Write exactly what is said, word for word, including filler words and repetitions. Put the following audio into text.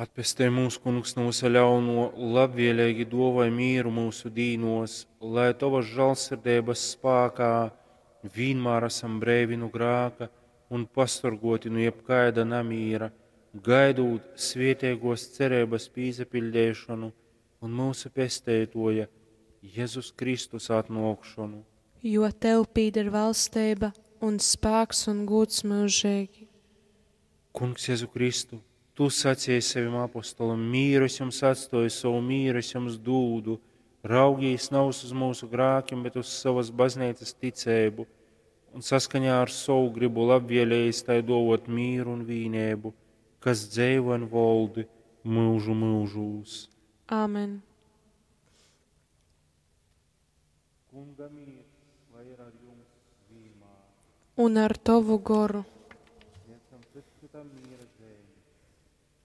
Atpestej mūs, Kungs, nu vysa ļaunuo, labvieleigi duovoj mīru myusu dīnuos, lai Tovas žālsirdeibas spākā vīnmār asam breivi nu grāka un pasorguoti nu jebkaida namīra, gaidūt svietēguos cereibas pīsapiļdeišonu un myusu Pesteituoja Jezus Kristus atnuokšonu. Jo Tev pīder valsteiba un spāks un gūds myužeigi. Kungs Jezu Kristu, Tu saceji sevim apostolim, mīru es jums atstoju, sovu mīru es jums dūdu. Raugīs navys uz myusu grākim, bet uz savas bazneicas ticeibu, un saskaņā ar sovu gribu labvielējis tai dovot mīru un vīneibu, kas dzeivo un voldi mūžu mūžūs. Āmen. Kunga mīrs, lai ir ar jums vienmēr. Un ar Tovu goru. Sniedzam cits citam miera zīmi.